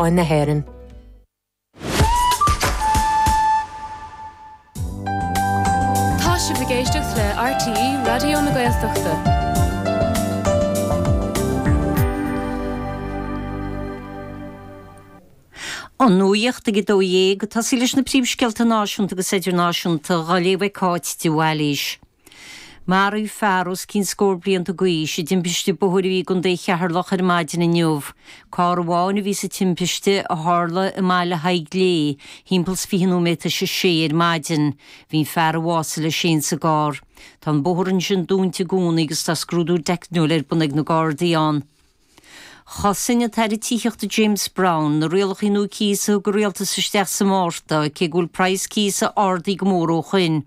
Síocháin na hÉireann. Tá sibh ag éisteacht le RTÉ Raidió na Gaeltachta. An nuacht ag 12:00, ag tosaí leis na príomhscéalta náisiúnta agus idirnáisiúnta, á léamh ag Cáit de Bhailís. Maraíodh fear os cionn scór blianta d'aois i dtimpiste bóthair a bhí i gContae Cheatharlach ar maidin inniu. Carr amháin a bhí sa timpiste a tharla i mBaile Thaidhg Léith thimpeall 's 20 nóiméad tar éis a sé ar maidin. Bhí an fear a bhásaigh leis féin sa gcarr. Tá an bóthar ansin dúnta i gcónaí agus tá scrúdú teicniúil ar bun ag na Gardaí ann. Chosain an tAire Tithíochta James Browne na rialacha nua cíosa a thug an Rialtas isteach sa Mhárta, cé go bhfuil praghas cíosa ardaithe go mór ó shoin.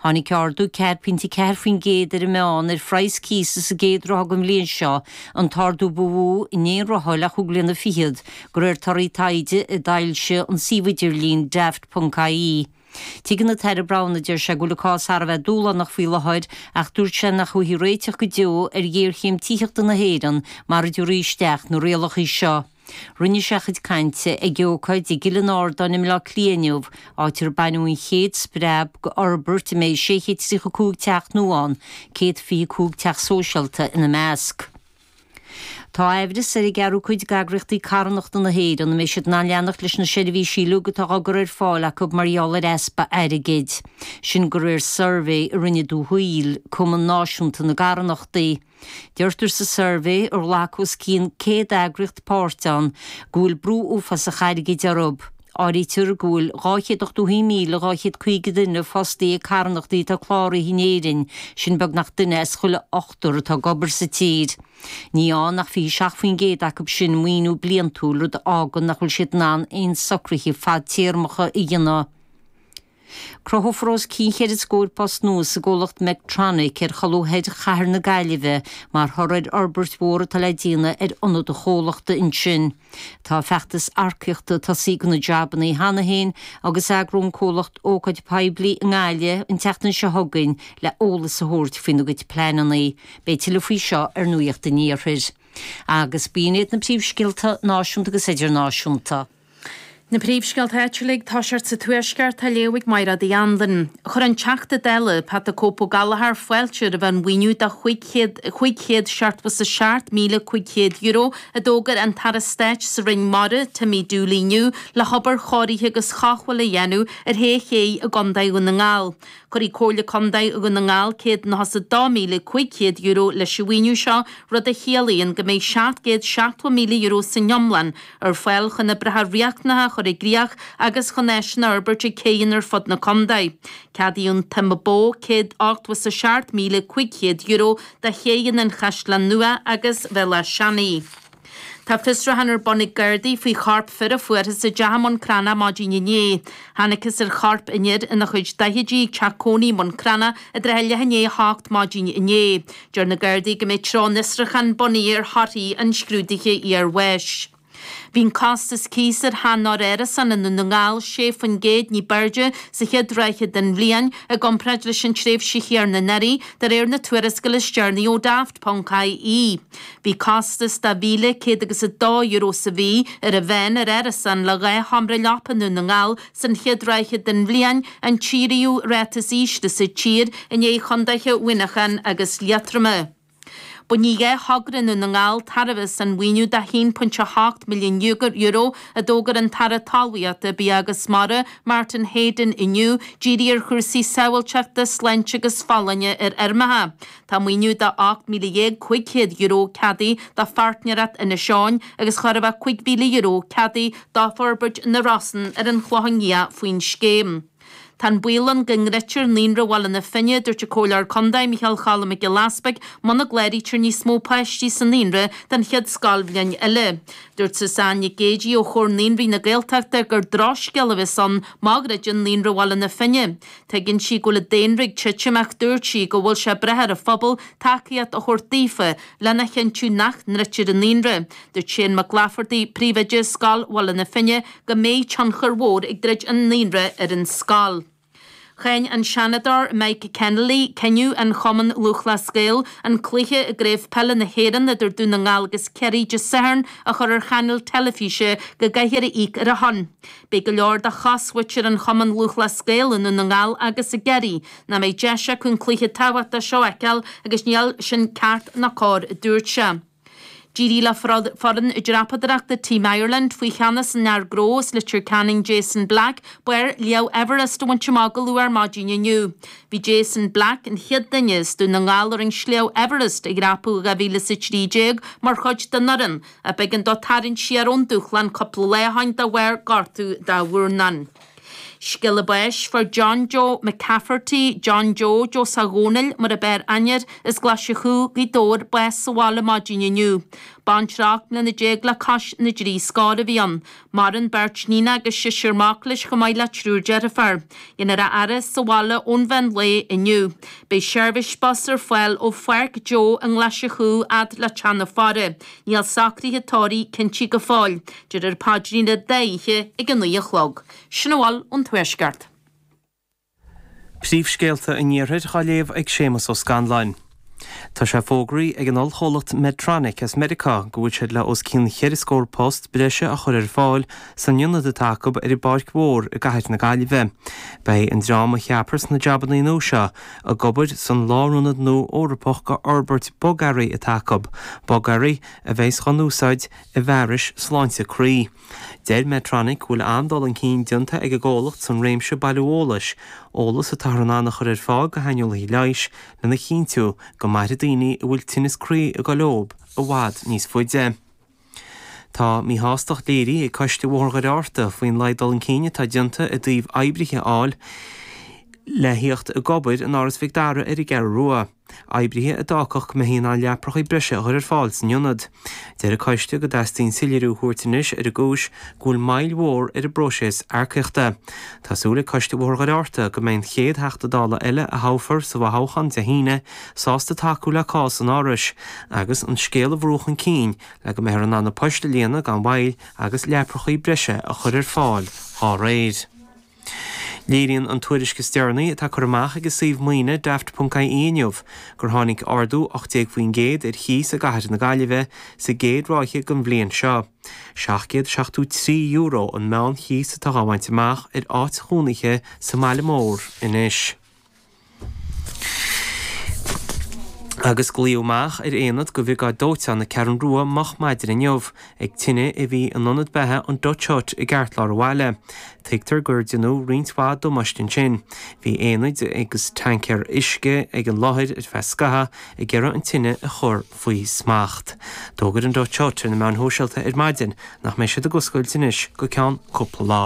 Tháinig ardú 4.4% ar an meán ar phraghas cíosa sa gcéad ráithe den bhliain seo, an t-ardú ba mhó in aon ráithe le chúig bliana fichead, de réir torthaí taighde a d'fhoilsigh an suíomh idirlín Daft.ie. Tuigeann an tAire Browne, a deir sé, go bhfuil an cás thar a bheith dúshlánach faoi láthair ach dúirt sé nach thabharfaí réiteach go deo ar ghéarchéim tithíochta na hÉireann mara dtabharfaí isteach na rialacha seo. Rinne sé a chuid cainte ag ócáid i gCill an Ardáin i mBleá Cliath inniu, áit ar baineadh an chéad spreab d'fhorbairt a mbeidh 635 teach nua ann, 125 teach sóisialta ina measc. Tá aimhreas ar an gceathrú cuid d'eagraíochtaí carthanachta na hÉireann an mbeidh siad in ann leanacht leis na seirbhísí uilig atá á gcur ar fáil acu mar gheall ar easpa airgid. Sin de réir suirbhé a rinne Dúshaol, Cumann Náisiúnta na gCarthanachtaí. Deirtear sa suirbhé, ar ghlac os cionn 100 eagraíocht páirt ann, go bhfuil brú uafásach airgid orthu. Áirítear go bhfuil 281,250 duine fostaithe ag carthanachtaí atá cláraithe in Éirinn, sin beagnach duine as chuile ochtar atá ag obair sa tír. Ní fhaigheann ach 27% acu sin maoiniú bliantúil, rud a fhágann nach bhfuil siad in ann aon socruithe fadtéarmacha a dhéanamh. Cruthófar os cionn cheithre scór post nua sa gcomhlacht Mectronic ar cholbha thoir chathair na Gaillimhe mar thoradh ar fhorbairt mhór atá le déanamh ar ionad an chomhlachta ansin. Tá feachtas earcaíochta tosaithe do na jabanna cheana féin agus eagróidh an comhlacht ócáid poiblí i nGaillimh an tseachtain seo chugainn le eolas a thabhairt faoina gcuid pleananna. Beidh tuilleadh faoi seo ar Nuacht an Iarthair. Agus b'in iad na príomhscéalta náisiúnta agus idirnáisiúnta. Na príomhscéalta áitiúla ag toiseacht sa Tuaisceart á léamh ag Mairéad Uí Anluain. Chuir an Teachta Dála, Pat the Cope Ó Gallchóir fáilte roimh an mhaoiniú de €577,500 a d'fhógair an tAire Stáit sa Roinn Mara, Timmy Dooley inniu le hobair chóirithe agus chothabhála a dhéanamh ar shé ché i gContae Dhún na nGall. Cuirfidh Comhairle Contae Dhún na nGall €192,500 leis an mhaoiniú seo, rud a chiallaíonn go mbeidh €770,000 san iomlán ar fáil chun oibreacha riachtanacha a chur i gcrích agus chun áiseanna a fhorbairt ag céidheanna ar fud na contae. Ceadaíodh an tsuim a ba mhó, €187,500, do chéidheanna an Chaisleáin Nua agus Bhéal Átha Seanaidh. Tá fiosrúchán ar bun ag Gardaí faoi chorp fir a fuarthas i dteach i mBun Cranncha maidin inné. Thángthas ar chorp an fhir ina chuid daichidí ag teach cónaí i mBun Cranncha i dtrátha leath i ndiaidh a hocht maidin inné. Deir na Gardaí go mbeidh treo an fhiosrúcháin bunaithe ar thorthaí an scrúdaithe iarbháis. Bhí an costas cíos ar shean-árasán i nDún na nGall 6% ní b'airde sa chéad ráithe den bhliain i gcomparáid leis an tréimhse chéanna anuraidh, de réir na tuarascála is deireanaí ó Daft. ie. Bhí costas de €1,100 agus €2 sa mhí ar an mheán ar árasán le dhá sheomra leapa i nDún na nGall san chéad ráithe den bhliain, an tríú ráta is ísle sa tír i ndiaidh chontaetha Mhuineacháin agus Liatroma. Bainfidh dhá thogra i nDún na nGall tairbhe as an mhaoiniú de €1.8 milliún a d'fhógair an tAire Talmhaíochta, Bia agus Mara, Martin Heydon inniu, dírithe ar chúrsaí sábháilteachta, sláinte agus folláine ar fheirmeacha. Tá maoiniú de €18,500 ceadaithe do Pháirtnéireacht Inis Eoghain agus chóir a bheith €5,000 ceadaithe do Forbairt na Rosann ar an Chlochán Liath faoin scéim. Tá an baol ann go ndruidfear Naíonra Bhaile na Finne, a dúirt an Comhairleoir Contae, Micheál Choilm Mac Giolla Easpaig, muna gcláraítear níos mó páistí sa naíonra don chéad scoilbhliain eile. Dúirt Suzanne Nic Géidigh ó Chomhar Naíonraí na Gaeltachta gur drochscéal a bheas ann má dhruideann Naíonra Bhaile na Finne. Tuigeann sí go bhfuil an daonra ag titim ach dúirt sí go bhfuil sé ag brath ar an phobal tacaíocht a thabhairt daofa lena chinntiú nach ndruidtear an naíonra. Dúirt Shane Mac Laifeartaigh, príomhoide Scoil Bhaile na Finne, go mbeidh tionchar mhór ag druid an naíonra ar an scoil. Cháin an Seanadóir Mike Kennelly cinneadh an Chumainn Lúthchleas Gael an cluiche i gCraobh Peile na hÉireann idir Dún na nGall agus Ciarraí Dé Sathairn a chur ar chainéal teilifíse go gcaithfear a íoc ar a shon. Beidh go leor de chosmhuintir an Chumainn Lúthchleas Gael i nDún na nGall agus i gCiarraí nach mbeidh deis acu an cluiche tábhachtach seo a fheiceáil agus níl sin ceart ná cóir, a dúirt sé. D'éirigh le foireann dreapadóireachta Team Ireland faoi cheannas an fhear gnó as Leitir Ceanainn Jason Black barr Shliabh Everest a bhaint amach go luath ar maidin inniu. Bhí Jason Black, an chéad duine as Dún na nGall ar an Sliabh Everest a dhreapadh i 2013 mar chuid den fhoireann, ach b'éigean dó tarraingt siar ón dúshlán cúpla lá ó shin de bharr gortú dá mhurnán. Scéala báis, Fuair John Joe McCafferty, John Joe, Joe 'sa Dhónaill mar a b'fhearr aithne air, as Glaise Chú, Gaoth Dobhair, bás sa bhaile maidin inniu. Baintreach 18 mbliana le cois na dtrí scór a bhí ann. Maireann beirt níon agus seisear mac leis chomh maith le triúr deirfiúr. Dhéanfar a fhaire sa bhaile ón mheán lae inniu. Beidh seirbhís bus ar fáil ó Pháirc Joe i nGlaise Chú fhad le Teach na Faire. Níl socruithe tórraimh cinnte go fóill. Déarfar paidrín an dá oíche ag a 9 a chlog. Sin a bhfuil ón Tuaisceart. Príomhscéalta an Iarthair á léamh ag Séamus Ó Scanláin. Tá sé fógraithe ag an ollchomhlacht Medtronic as Meiriceá go bhfuil siad le os cionn cheithre scór post breise a chur ar fáil san ionad atá acu ar an bPáirc Mhór i gcathair na Gaillimhe. Beidh an dream a cheapfar sna jabannaí nua seo ag obair san lárionad nua Eorpach d'fhorbairt bogearraí atá acu, bogearraí a bheas á n-úsáid i bhfearais sláinte croí. Deir Medtronic go bhfuil an-dul chun cinn déanta ag an gcomhlacht san réimse bailiú eolais, eolas atáthar in ann a chur ar fáil do shaineolaithe leighis lena chinntiú go mairfidh daoine a bhfuil tinneas croí ag dul leob i bhfad níos faide. Tá míshástacht léirithe ag Coiste Bhóthar Dhoire Fhearta faoin laghad dul chun cinn atá déanta i dtaobh oibrithe a fháil le thíocht ag obair in Áras Mhic Dara ar an gCeathrú Rua. Oibrithe a d'fhágfadh go mbeifí in ann leaprachaí breise a chur ar fáil san ionad. Deir an coiste go dteastaíonn soiléiriú a thabhairt anois ar an gcúis go bhfuil moill mhór ar an bpróiseas earcaíochta. Tá súil ag Coiste Bhóthar Dhoire Fhearta go mbeidh an chéad Theachta Dála eile a thoghfar sa bhfothoghchán Dé hAoine sásta tacú le cás an Árais agus an scéal a bhrú chun cinn le go mbeifear in ann na poist a líonadh gan mhoill agus leaprachaí breise a chur ar fáil dá réir. Léiríonn an tuairisc is deireanaí atá curtha amach ag an suíomh maoine Daft ponc ie inniu gur tháinig ardú 18% ar chíos i gcathair na Gaillimhe sa gcéad ráithe den bhliain seo. €773 an meán-chíos atá á bhaint amach ar áit chónaithe sa mbaile mór anois. Agus glaodh amach ar aonad de Bhriogáid Dóiteáin na Ceathrún Rua moch maidin inniu ag tine a bhí in ionad beatha an Dutch Hut i gceartlár an bhaile. Tuigtear gur deineadh roinnt mhaith damáiste ansin. Bhí aonaid agus tancaeir uisce ag an láthair ar feadh scathaimh ag iarraidh an tine a chur faoi smacht. D'fhógair an Dutch Hut ar na meáin shóisialta ar maidin nach mbeidh siad ag oscailt anois go ceann cúpla lá.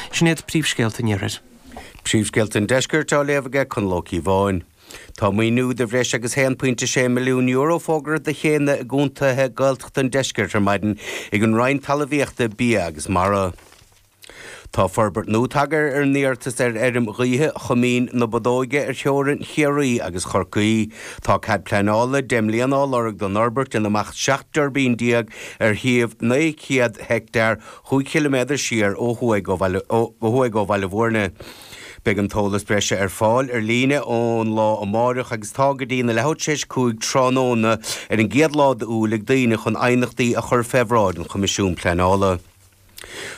Sin iad príomhscéalta an Iarthair. Príomhscéalta an Deiscirt á léamh aige Conall Ó Cíobháin. Tá maoiniú de bhreis agus €1.6 milliún fógartha do chéanna i gcontaetha Gaeltachta an deiscirt ar maidin ag an Roinn Talmhaíochta, Bia agus Mara. Tá forbairt nua tagtha ar an iarratas ar fheirm ghaoithe Choimín na Bodóige ar theorainn Chiarraí agus Chorcaí. Tá cead pleanála 10 mbliana á lorg don fhorbairt ina mbeadh 17 dtuirbín ar shuíomh 900 heicteár 5 chiliméadar siar ó thuaidh ó Bhaile Bhúirne. Beidh an t-eolas breise ar fáil ar líne ón lá amáireach agus tá go dtí na leathuair tar éis 5 tráthnóna ar an gcéad lá d'Iúil ag daoine chun aighneachtaí a chur fé bhráid an Choimisiún Pleanála.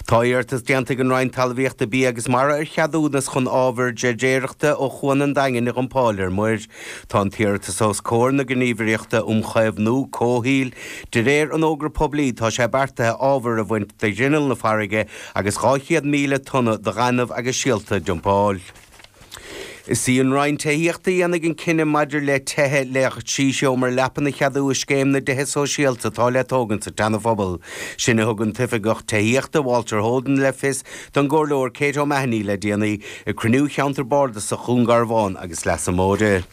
Tá iarratas déanta ag an Roinn Talmhaíochta, Bia agus Mara ar cheadúnas chun ábhar dreiléireachta ó Chuan an Daingin a dhumpáil ar muir. Tá an t-iarratas os comhair na Gníomhaireachta um Chaomhnú Comhshaoil. De réir an fhógra poiblí, tá sé beartaithe ábhar a bhaint de ghrinneall na farraige agus 200,000 tonna de ghaineamh agus silt a dumpáil. Is í an Roinn Tithíochta a dhéanfaidh an cinneadh maidir le tithe le 3 sheomra leapan a cheadú i Scéim na dTithe Sóisialta atá le tógaint sa tSeana-Phobal. Sin a thug an tOifigeach Tithíochta, Walter Holden, le fios don gComhairleoir Kate O'Mahony le déanaí ag cruinniú Cheantar Bardasach Dhún Garbhán agus Leasa Móire.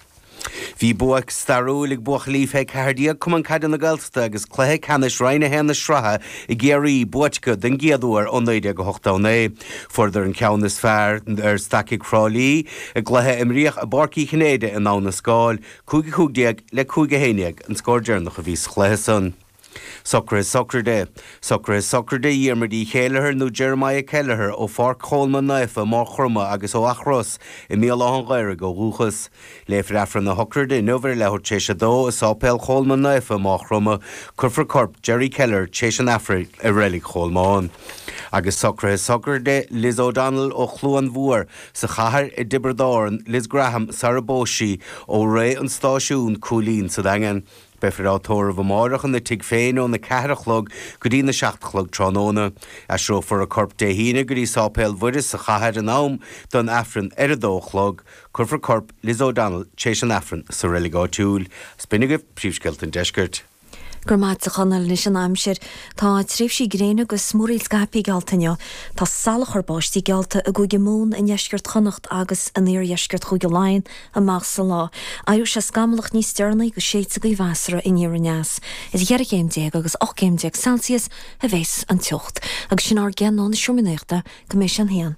Bhí bua stairiúil ag buachaillí fé 14 Cumann Caide na Gaeltachta agus cluiche ceannais Roinn 1 na sraithe i gCiarraí buaite acu den gcéad uair ó 1989. Fuaireadar an ceann is fearr ar Stacaigh Thrá Lí i gcluiche a imríodh i bPáirc Uí Chinnéide i nDamh na Scáil, 5-15 le 5-11 an scór deireanach a bhí sa chluiche san. Socruithe Sochraide. Socruithe Sochraide Dhiarmuid Uí Chéileachair nó Jeremiah Kelleher ó Pháirc Cholmáin Naofa i Maigh Chromtha agus ó Eachros i mBéal Átha an Ghaorthaidh ó dhúchas. Léifear Aifreann na sochraide inniu ar a leathuair tar éis a dó i Sáipéal Cholmáin Naofa i Maigh Chromtha. Cuirfear corp Jerry Kelleher tar éis an Aifrinn i Reilig Cholmáin. Agus socruithe sochraide Liz O'Donnell ó Chluain Mhór sa chathair i dTiobraid Árann, Liz Graham sara bpós sí, ó Rae an Stáisiún, Cúilín sa Daingean. Beifear á tórramh amárach ina tigh féin óna 4 a chlog go dtí na 7 a chlog tráthnóna. Aistreofar a corp Dé hAoine go dtí Sáipéal Mhuire sa chathair in am don Aifreann ar a dó a chlog. Cuirfear corp Liz O'Donnell tar éis an Aifrinn sa reilig áitiúil. Is b'in agaibh príomhscéalta an deiscirt. Go raibh maith agat a Chonaill. Anois an aimsir. Tá tréimhsí gréine agus múraíl scaipthe geallta inniu. Tá salachar báistí geallta i gCúige Mumhan, i ndeisceart Chonnacht agus in iardheisceart Chúige Laighean amach sa lá. Éireoidh sé scamallach níos deireanaí agus séidfidh gaoth mheasartha aniar aneas. Idir cheithre chéim déag agus 18 céim Celsius a bheas an teocht. Agus sin ár gceann ó na Seomraí Nuachta go mbeidh sé an haon.